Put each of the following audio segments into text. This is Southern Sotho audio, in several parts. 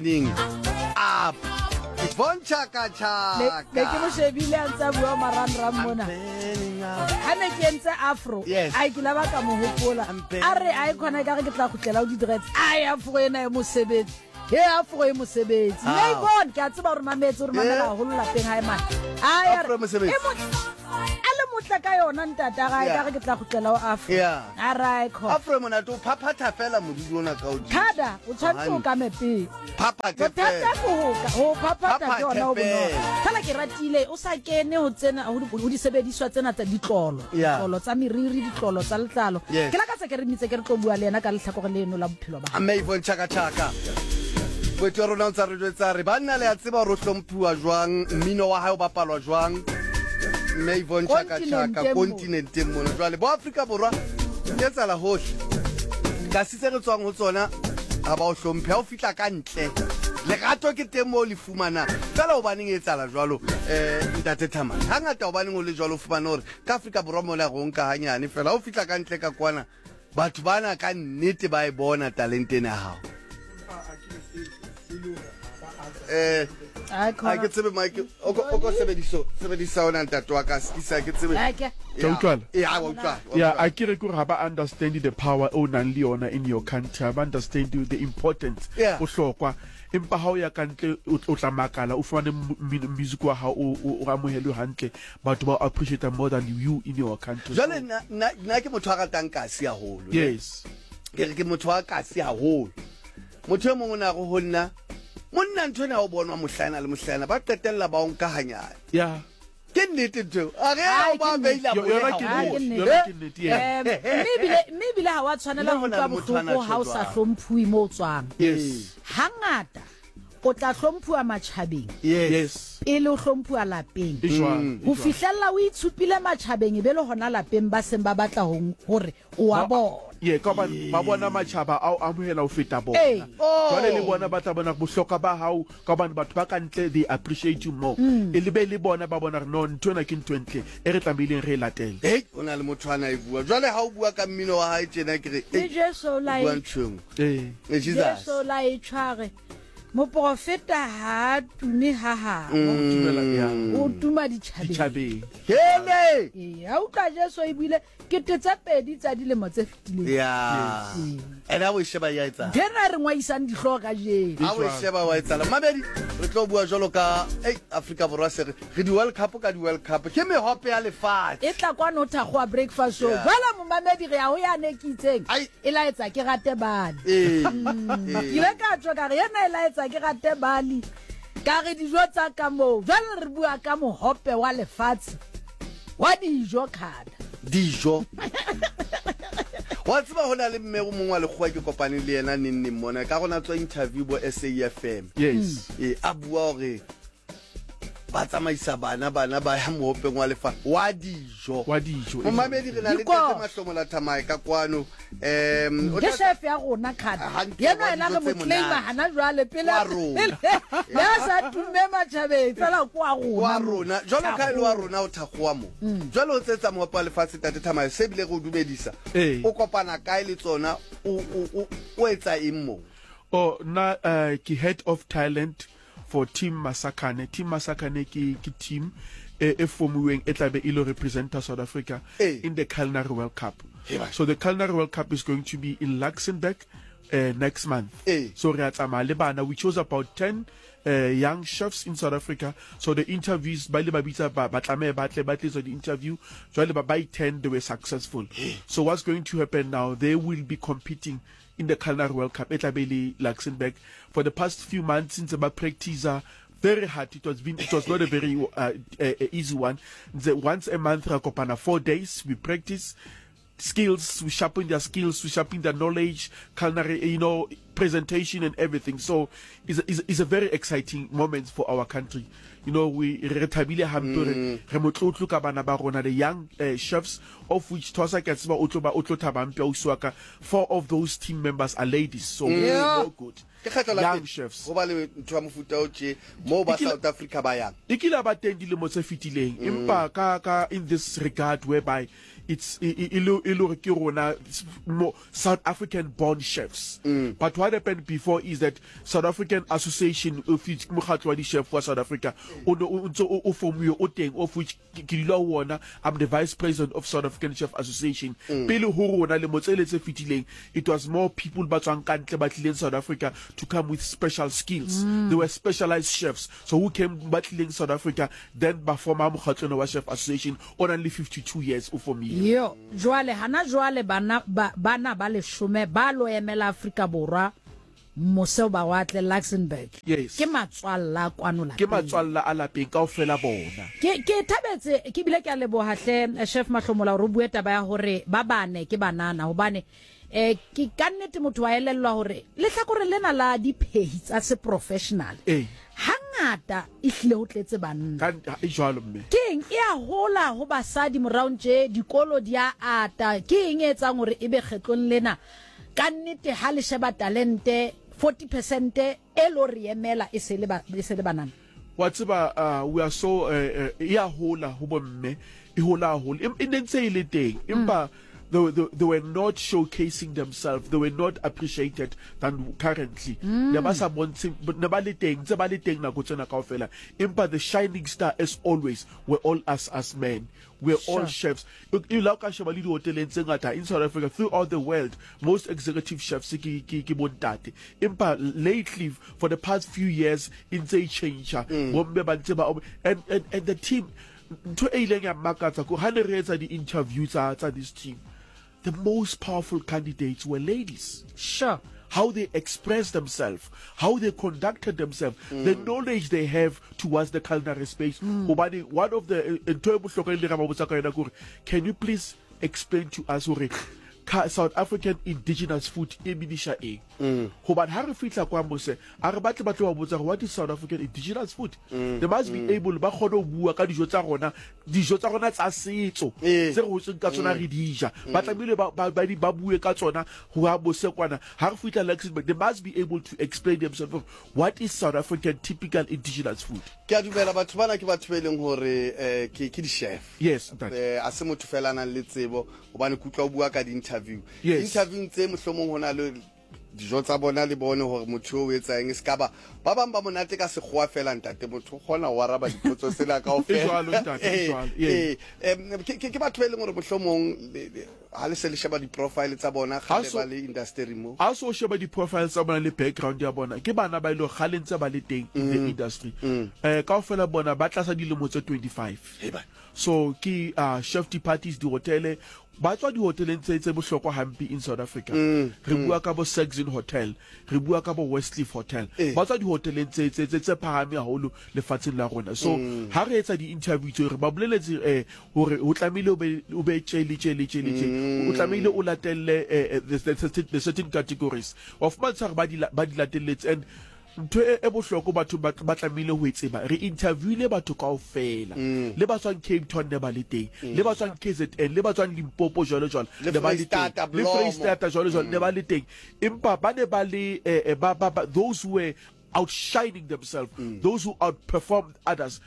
Burning up. Yvonne Chaka Chaka. Ne ke mo shebile a ntse a bua marangrang mona. Ha ne ke entse afro. Yes. Ai ke la ba ka mo hopola. A re ai khona ka re ke tla khutlela o di-dreads. Ai afro ena e mosebetsi. He afro e mosebetsi. Ao. Mme Yvonne ke a tseba hore mametse hore mamela Yeah. haholo lapeng hae mane. Ai a re Afro e mosebetsi. e mo- a le motle ka yona ntata gae ka re ke tla gutlela o afro Yeah. a rae kho Afro e monate o phaphatha fela moriri ona ka hodimo. thada o tshwanetse o Hantle. ka mepele Phaphathe bothata fela. ke ho ka ho phaphatha ke yona ho Phaphathe bonolo fela. fela ke ratile o sa kene ho tsena ho di- ho disebediswa tsena tsa ditlolo Yeah. ditlolo tsa meriri ditlolo tsa letlalo Yes. ke lakatsa ke re mitse ke re tlo bua le yena ka lehlakore leno la bophelo ba hae. Mme Yvonne Chaka Chaka. Boeti wa rona o ntsa re jwetsa re banna le a tseba hore o hlomphuwa jwang, mmino wa hae o bapalwa jwang. Mme Yvonne Chaka Chaka Kontinenteng mo. kontinenteng mona. Jwale bo Afrika Borwa di etsahala hohle. Kasi tse re tswang ho tsona ha ba o hlomphe. Ha o fihla ka ntle, lerato ke teng moo le fumanang. Fela hobaneng e etsahala jwalo, ntate Thamane? Hangata hobaneng ho le jwalo o fumane hore ka Afrika Borwa mola re o nka hanyane fela. Ha o fihla ka ntle ka kwana, batho bana ka nnete ba e bona talente ena ya hao. Ai, Ha khona. ke tsebe Mike, o ko o ko sebediso sebedisa ona ntate wa ka sekisa ke tsebe. Ai, ke- Ke a utlwala? Ya, wa utlwala. wa Yeah, utlwala. a ke re ke gore ga ba understand the power o nang le yona in your country, ha ba understand the importance, Yeah. bohlokwa. Empa ha o ya ka ntle o o tla makala o fumane music wa hao o o o amohelwe hantle, batho ba o appreciate more than you in your country. Jwale nna nna nna ke motho a ratang kasi haholo. ne? Yes. Ke re ke motho wa kasi haholo. Motho e mong o ne a re ho nna, monna ntho ena ha o bonwa mohlaena le mohlaena ba qetella ba o nka hanyane. Yeah. Ke nnete ntho eo. A re Ai, o ba ke nnete. available Yona ke Ah, ke nnete. nnete. Yona ke nnete, yeah. Mme ebile ha wa tshwanela Nna ho ho na utlwa le motho ana bohloko ha o tjho sa jwalo. hlomphuwe mo o tswang. Yes. Hangata o tla hlomphuwa matjhabeng Yes. Yes. pele o hlomphuwa lapeng. E jwalo, e Ho jwalo. fihlella o itshupile matjhabeng e be le hona lapeng ba seng ba batla ho hore o wa bona. Ye, ka hobane ba bona matjhaba a o amohela ho feta Ee. bona. Oh. Jwale le bona ba tla bona bohlokwa ba hao ka hobane batho ba ka ntle they appreciate you more. E le be le bona ba bona hore no ntho ena ke ntho e ntle e re tlamehileng re e latele. Hei, o na le motho ana e bua. Jwale ha o bua ka mmino wa hae tjena ke re, Le ei, Jesu o o la bua e ntho e nngwe. Ee. Eh, Jesus. Jesu la e tshware. Moprofeta ha a tume ha habo. Tumela ya O tuma ditjhabeng. ditjhabeng. Hele! Ee, ha utlwa Jesu e buile kete tse pedi tsa dilemo tse fetileng. Ya. Ene ha o e sheba ya etsahala. Ntho ena e re ngwaisang dihlooho kajeno. Ha o e sheba wa etsahala. Mamedi, re tlo bua jwalo ka ei Afrika Borwa se re re di World Cup ka di World Cup. Ke mehope ya lefatshe. E tla kwano thakgowa breakfast show. Yeah. Jwale momamedi re ya ho yane ke itseng. Ai. E laetsa ke rate bali. Ee. Ke ile ka tswa ka re yena e laetsa ke rate bali. Ka re dijo tsa ka moo. Jwale re bua ka mohope wa lefatshe wa dijo khada. Dijo. Wa tseba ho na le mme o mongwe wa lekgowa ke kopaneng le yena neng neng mona ka rona tswa interview bo SAFM. Yes. Ee, a bua hore ba tsamaisa bana bana ba ya mohopeng wa lefa wa dijo. Wa dijo. Momamedi re na le Dikoro. Ntate Mahlomola Thamae ka kwano. O Ke tla- chef ya rona khada. Hantle, Yena wa yena dijo re mo tse claima monate. hana jwale pele Wa rona. ya sa tumme matjhabeng fela ke wa rona. wa rona jwalo ka e le wa rona o thakgowa mo jwale o tsetsa mohope wa lefatshe tate Thamae se bile re o dumedisa Ee. o kopana kae le tsona o o o o etsa eng mo Oh, nna ke head of talent for Team Masakane. Team Masakane ke ke team e e formuweng e tlabe e lo representa South Africa Ee. in the Culinary World Cup. Heba. So the Culinary World Cup is going to be in Luxembourg next month. Ee. So re a tsamaya le bana. We chose about 10 young chefs in South Africa. So the interviews ba ile ba bitsa ba ba tlameha ba tle ba tletswa di-interview. Jwale ba by 10 they were successful. So what's going to happen now? They will be competing in the Culinary World Cup e tla be le Luxembourg. For the past few months since ba practice very hard. It was not a very easy one. The once a month ra kopana 4 days we practice skills, we sharpen their skills, we sharpen their knowledge, culinary, you know, presentation and everything. So it's a very exciting moment for our country. You know, we re thabile hampe re re motlotlo ka bana ba rona, the young chefs, of which Thosa ke a tseba o tlo ba o tlo thaba hampe ausi wa ka. 4 of those team members are ladies, so we Yeah. no good. Ke kgetlo la Young pele chefs. ho ba le ntho ya mofuta o tje moo ba E kile- South Africa ba yang. E kile ba teng dilemo tse fetileng, empa ka in this regard whereby it's e le e le hore ke rona South African born chefs. Mm. But what happened before is that South African Association of which mokgatlo wa di-chef wa South Africa o ne o ntse o formiwe o teng of which ke dula ho ona. I'm the vice president of South African Chef Association. Mm. Pele ho rona lemo tsele tse fetileng it was more people ba tswang ka ntle ba tlileng South Africa to come with special skills. Mm. They were specialized chefs so who came ba tlileng South Africa then ba forma mokgatlo wa Chef Association o nang le 52 years o formile. Yo, jwale hana jwale bana ba bana ba leshome ba lo emela Afrika Borwa mose ba watle Luxembourg. Yes. Ke matswalla a kwano lapeng. Ke matswalla a lapeng kaofela bona. Ke ke thabetse ke bile ke a leboha hle Chef Mahlomola hore o bue taba ya hore ba bane ke banana hobane eh ke ka nnete motho wa elellwa hore lehlakore lena la diphehi tsa se professional eh hangata e hlile ho tletse banna. Ka e jwalo mme. Ke eng e a hola ho basadi moraong tje dikolo di a ata ke eng e etsang hore ebe kgetlong lena Ka nnete ha le sheba talente 40 percent e lo re emela e se le ba, e se le banana. Wa tseba uh, we are so uh, uh, e a hola ho bomme e hola haholo e ne ntse e le teng empa mm. they, they, they were not showcasing themselves they were not appreciated than currently mm. ne ba sa bontshe ne ba le teng tse ba le teng nako tsena kaofela empa the shining star as always were all us as men We're all chefs. E la o ka sheba le dihoteleng tse ngata in South Africa throughout the world, most executive chefs ke ke ke bontate. Empa lately for the past few years e ntse e change. Mm. Bomme ba ntse ba and and and the team ntho e ileng ya mmakatsa ko ha ne re etsa di-interview tsa tsa this team the most powerful candidates were ladies. Sure. How they expressed themselves, how they conducted themselves, mm. the knowledge they have towards the culinary space. Mm. Hobane one of the eh, ntho e bohlokwa e le ra ba botsa ka yona ke can you please explain to us hore South African indigenous food e meanisha eng? Mm. Hobane ha re fihla kwa mose A re batle ba tlo ba botsa gore what is South African indigenous food? Mm, They must be mm. able ba kgone go bua ka dijo tsa rona, dijo tsa rona tsa setso ee. tse re hotseng ka tsona mm. re di ja. Ba tlamehile ba ba ba bue ka tsona go ya bosekwana. Ha re fihla Luxembourg, they must be able to explain themselves what is South African typical indigenous food. Ke a dumela batho bana ke batho ba e leng gore eh, ke ke di-chef. Yes, ntate. Eh, a se motho fela a nang le tsebo gobane ke utlwa o bua ka di-interview. Yes. Interviewng tse mohlomong ho na le dijo tsa bona le bone gore motho yo o etsa eng se ka ba ba bang ba monate ka sekgowa fela ntate motho o kgona go araba dipotso tsena kaofela ee ke batho ba e leng gore mohlomong ga le se le sheba di-profile tsa bona gale ba le industry mo a se o sheba di-profile tsa bona le background ya bona ke bana ba e leng gale ntse ba le teng in the mm. industry um kaofela bona ba tlasa dilemo tse 25 so ke uh, chef departies dihotele Ba tswa dihoteleng tse tse bohlokwa hampe in South Africa. Mm, re mm. bua ka bo Saxon Hotel, re bua ka bo Westcliff Hotel. Eh. Ba tswa dihoteleng tse tse tse tse phahame haholo lefatsheng la rona. So mm. ha re etsa di-interview tseo re ba boleletse eh hore o tlamehile o be o be tje le tje le tje le tje. Mm. O tlamehile o latelle eh, eh the, the certain categories. Wa fumantsha hore ba di ba di latelletse and Ntho e, e bohloko batho ba, ba tlamehile ho e tseba, re interviewile batho kaofela. Mm. Le ba tswang Cape Town ne ba le teng, mm. le ba tswang KZN, le ba tswang Limpopo jwalo jwalo, ne ba le teng. Le Freistata jwalo jwalo, ne ba le teng. Empa ba ne ba le eh, eh, ba, ba, ba, those who were outshining themselves, mm. those who outperformed others,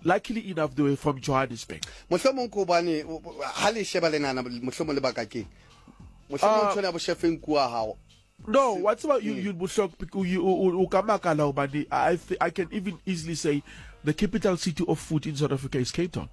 luckily enough they were from Johannesburg. Mohlomong ke hobane ha le sheba le nana mohlomong lebaka keng? Mohlomong ah. ntho ya boshefeng kua hao. No, wa tseba you you bohlok you o ka makala hobane I I can even easily say the capital city of food in South Africa is Cape Town.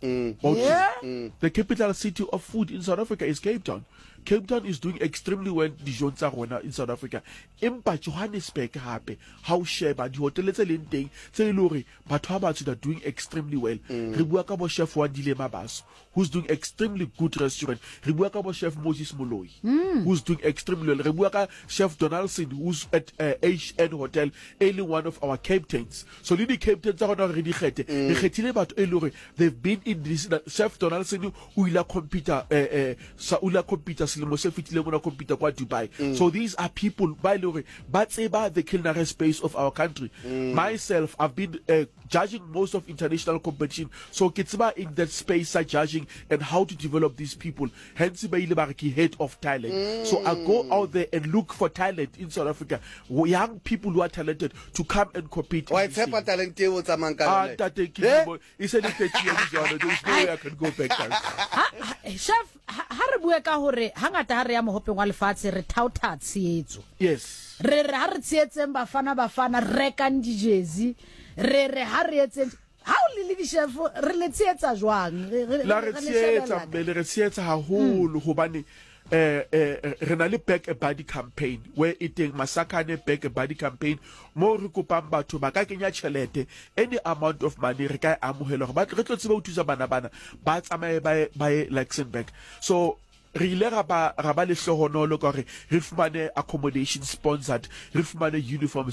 Mm. Yeah. Mm. The capital city of food in South Africa is Cape Town. Cape Town is doing extremely well dijong tsa rona in South Africa. Empa Johannesburg hape ha o sheba dihotele tse leng teng tse e le hore batho ba batsho they are doing extremely well. Mm. Re bua ka bo chef Wandile Mabaso who's doing extremely good restaurant. Re bua ka bo Chef Moses Moloi, mm. who's doing extremely well. Re bua ka Chef Donaldson, who's at uh, HN Hotel, e leng one of our captains. So le di-captains tsa rona re di kgethe. Mm. Re kgethile batho e le hore they've been in this. Chef Donaldson o ile a compete eh, eh, sa o ile a compete selemo se fetileng o ne a compete kwa Dubai. Mm. So these are people ba e le hore ba tseba the culinary space of our country. Mm. Myself, I've been uh, judging most of international competition so ke tseba in that space sa judging coaching and how to develop these people. Hence ba ile ba re ke head of talent. So I go out there and look for talent in South Africa, young people who are talented to come and compete. Wa e tshepa talente eo o tsamayang ka Ah, yona? ntate, ke Eh? lemo, e se le 30 years jwalo, there is no way I can go back. Ha, ha, chef, ha, ha re bue ka hore hangata ha re ya mohopeng wa lefatshe re thaotha tshehetso. Yes. Re re ha re tshehetseng Bafana Bafana, rekang dijezi, re re ha re etseng ha o le le di-chef re le tshehetsa jwang? Re, re, La re re le tshehetsa shebella mme le re tshehetsa haholo hobane eh eh re na le back a buddy campaign where e teng Masakane back a buddy campaign mo re kopang batho ba ka kenya tjhelete, any amount of money re ka e amohela hore ba re tlo tsebe ho thusa bana bana ba tsamaye ba ye ba ye Luxembourg. So re ile ra ba ra ba lehlohonolo ka hore re fumane accommodation sponsored, re fumane uniform.